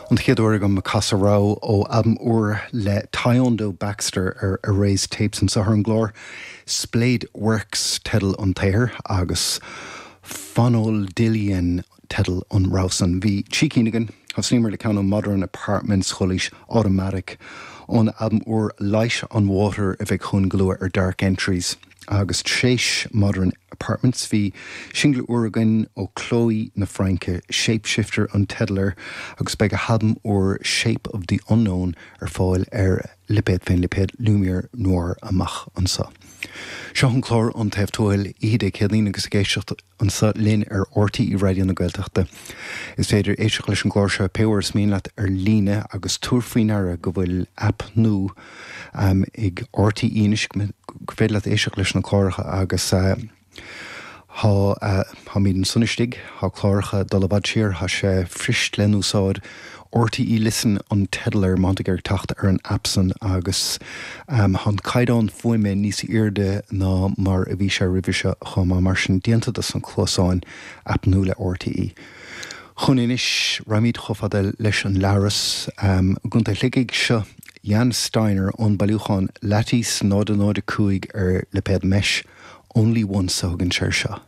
An chéad uair agam casadh rogha ó albam úr le Tyondo Baxter ar Erased Tapes anseo ar an gclár. Splayed Works teideal an tsaothair agus Fonoldylian teideal an rogha san. Bhí trí cinn againn. Thosnaíomar le ceann ó Modern Apartments, chualaís Automatic ón albam úr Light on Water a bheidh chugainn go luath ar Dark Entries. Agus tréis Modern Apartments bhí singil úr againn ó Chloé na Fraince, Shapeshifter an teideal air, agus beidh a halbam úr Shape of the Unknown ar fáil ar lipéad féin, lipéad Lumière Noire amach anso. Seo an clár An Taobh Tuathail, oíche Dé Céadaoin agus ag éisteacht anseo linn ar RTÉ Raidió na Gaeltachta. Is féidir éisteacht leis an gclár seo pé uair is mian leat ar líne agus tabhair faoi ndeara go bhfuil aip nua ag RTÉ anois gur féidir leat éisteacht leis na cláracha agus tá táimid ansan istigh, tá cláracha ag dul i bhfad siar, tá sé fuirist le n-úsáid. RTÉ Listen an teideal air má tá tú ag iarraidh teacht ar an aip san agus tá an caighdeán fuaime níos airde ná mar a bhí sé roimhe seo chomh maith, mar sin déanta dos na cluasáin, aip nua le RTÉ. Chugainn anois, raghaimid chomh fada leis an Leathros i gContae Shligigh. Seo Jan Steiner ón bailiúchán Lattice 005 ar lipéad Mesh, Only Once a thugann sé air seo.